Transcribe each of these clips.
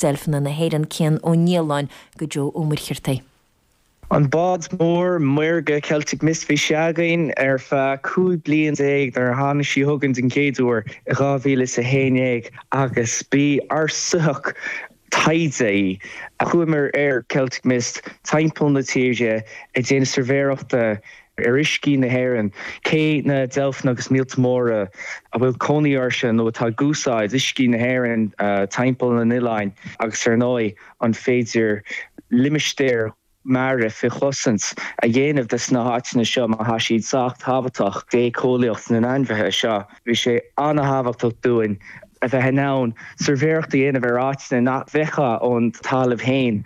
Deilfeanna na hÉireann, Cian Ó Nialláin, go Joe Ó Muircheartaigh. An bád mór maorga Celtic Mist, bhí sé againn ar feadh 15 bliain nuair a tháinig sí chugainn den chéad uair i 2011 agus b'í ár soitheach taighde í. Chuamar ar Celtic Mist timpeall na tíre ag déanamh suirbhéireachta ar uiscí na hÉireann, cé na deilfeanna agus míolta móra a bhfuil cónaí orthu nó atá ag úsáid uiscí na hÉireann timpeall na n-oileáin agus ar ndóigh an féidir limistéir mara faoi chosaint a dhéanamh de sna háiteanna seo má thá siad sách tábhachtach d'éiceolaíocht na n-ainmhithe seo. Bhí sé an-thábhachtach dúinn a bheith in ann suirbhéireacht a dhéanamh ar áiteanna nach bhfeicfeá ón talamh féin.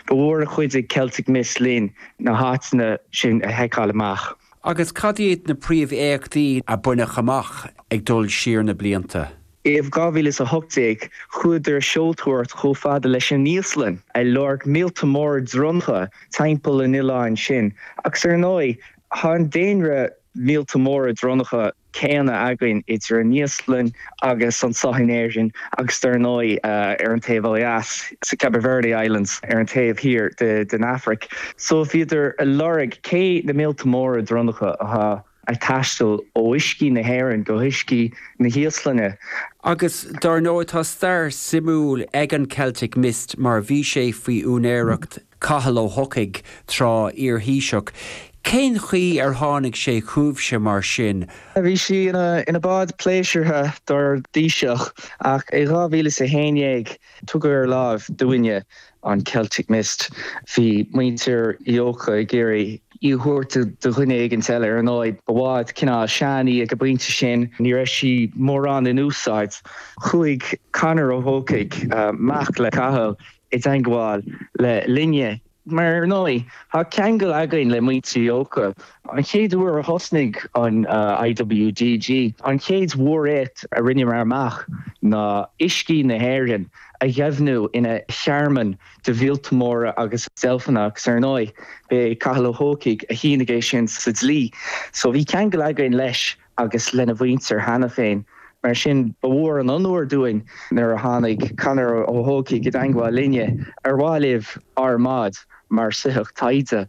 Ba mhór a chuidigh Celtic Mist linn na háiteanna sin a sheiceáil amach. Agus cad iad na príomhéachtaí a baineadh amach ag dul siar na blianta? I 2018, chuadar ag seoltóireacht chomh fada leis an Íoslainn, ag lorg míolta móra dronnacha timpeall an oileáin sin. Agus ar ndóigh, tá an daonra míolta móra dronnacha céanna againn idir an Íoslainn agus anseo in Éirinn agus dar ndóigh ar an taobh ó dheas, sa Cape Verde Islands ar an taobh thiar den Afraic. So bhíodar ag lorg cé na míolta móra dronnacha atá ag taisteal ó uiscí na hÉireann go huiscí na hÍoslainne. Agus dar ndóigh tá stair suimiúil ag an Celtic Mist mar bhí sé faoi úinéireacht Cathal Ó hEochaidh tráth, iar-Thaoiseach. Cén chaoi ar tháinig sé chugaibhse mar sin? Bhí sí ina bád pléisiúrtha dár dTaoiseach ach i 2011 tugadh ar láimh dúinne an Celtic Mist. Bhí muintir Uí Eochaidh ag iarraidh í a thabhairt do dhuine éigin eile. Ar ndóigh, ba bhád cineál sean í ag an bpointe sin, ní raibh sí mórán in úsáid. Chuaigh Conor Ó hEochaidh, mac le Cathal, i dteangmháil le linne. Mar ar ndóigh, tá ceangal againn le muintir Uí Eochaidh. An chéad uair a thosnaigh an IWDG, an chéad mhóréacht a rinneamar amach ná uiscí na hÉireann a dheimhniú ina thearmann do mhíolta móra agus deilfeanna agus ar ndóigh, b'é Cathal Ó hEochaidh a shínigh é sin sa dlí. So bhí ceangal againn leis agus lena mhuintir cheana féin. Mar sin, ba mhór an onóir dúinn nuair a tháinig Conor Ó hEochaidh i dteangmháil linne, ar mhaith libh ár mbád mar soitheach taighde.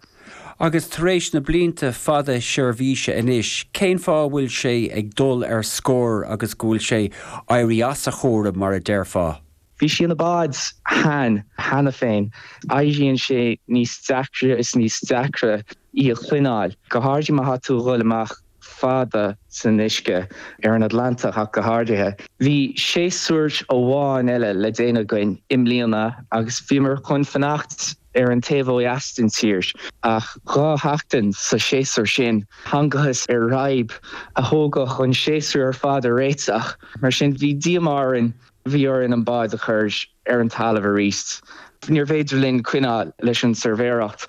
Agus tar éis na blianta fada seirbhíse anois, cén fáth a bhfuil sé ag dul ar scor agus go bhfuil sé éirí as a chúram, mar a déarfá? Bhí sí ina bád shean cheana féin. Éiríonn sé níos deacra is níos deacra í a choinneáil, go háirithe má tá tú a dhul amach fada san uisce, ar an Atlantach ach go háirithe. Bhí séasúr amháin eile le déanamh againn i mbliana agus bhíomar chun fanacht ar an taobh ó dheas den tír ach 2 sheachtain sa séasúr sin. Thángthas ar fhadhb a thógfadh an séasúr ar fad a réiteach, mar sin bhí díomá orainn. Bhí orainn an bád a chur ar an talamh arís. Níorbh fhéidir linn coinneáil leis an suirbhéireacht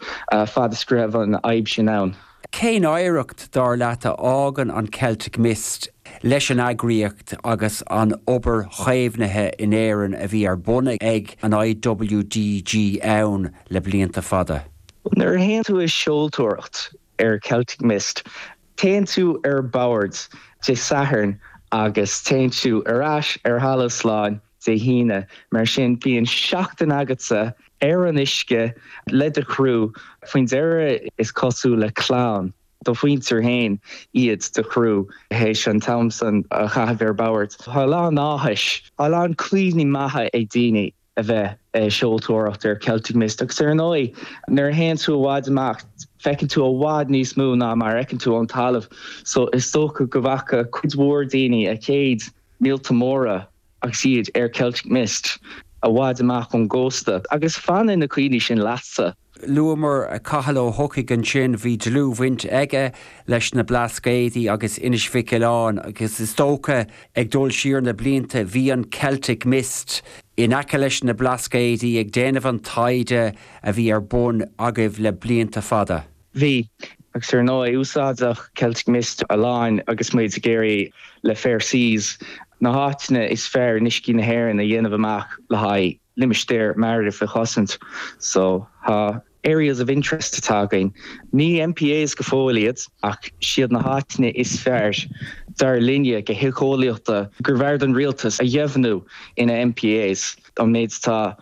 fad is go raibh an fhadhb sin ann. Cén oidhreacht, dar leat, a fhágann an Celtic Mist leis an eagraíocht agus an obair chaomhnaithe in Éirinn a bhí ar bun ag an IWDG ann le blianta fada? Nuair a théann tú ag seoltóireacht ar Celtic Mist, Téann tú ar bord Dé Sathairn agus téann tú ar ais ar thalamh slán Dé hAoine. Mar sin, bíonn seachtain agatsa ar an uisce le do chriú. Faoin deireadh, is cosúil le clann do mhuintir féin iad do chriú théis an t-am san a chaitheamh ar bord. Tá a lán áthais, tá a lán cuimhní maithe ag daoine. a bheith ag seoltóireacht ar Celtic Mist agus ar ndóigh nuair a théann tú i bhfad amach feiceann tú i bhfad níos mó ná mar a fheiceann tú ón talamh so is dócha go bhfaca cuid mhór daoine a chéad míolta móra agus iad ar Celtic Mist i bhfad amach ón gcósta agus fanann na cuimhní sin leatsa. Luamar Cathal Ó hEochaidh ansin, bhí dlúthbhaint aige leis na Blascaodaí agus Inis Mhic Aoláin agus is dócha ag dul siar na blianta bhí an Celtic Mist in aice leis na Blascaodaí ag déanamh an taighde a bhí ar bun agaibh le blianta fada. Bhí, agus ar ndóigh úsáideadh Celtic Mist a lán agus muid ag iarraidh le Fair Seas na háiteanna is fearr in uiscí na hÉireann a dhéanamh amach le haghaidh limistéir mara faoi chosaint. So, tá areas of interest atá againn. Ní MPAs go fóill iad, ach siad na háiteanna is fearr, dar linne, go héiceolaíochta, gurbh fhearr don rialtas a dheimhniú ina MPAs, an méid atá.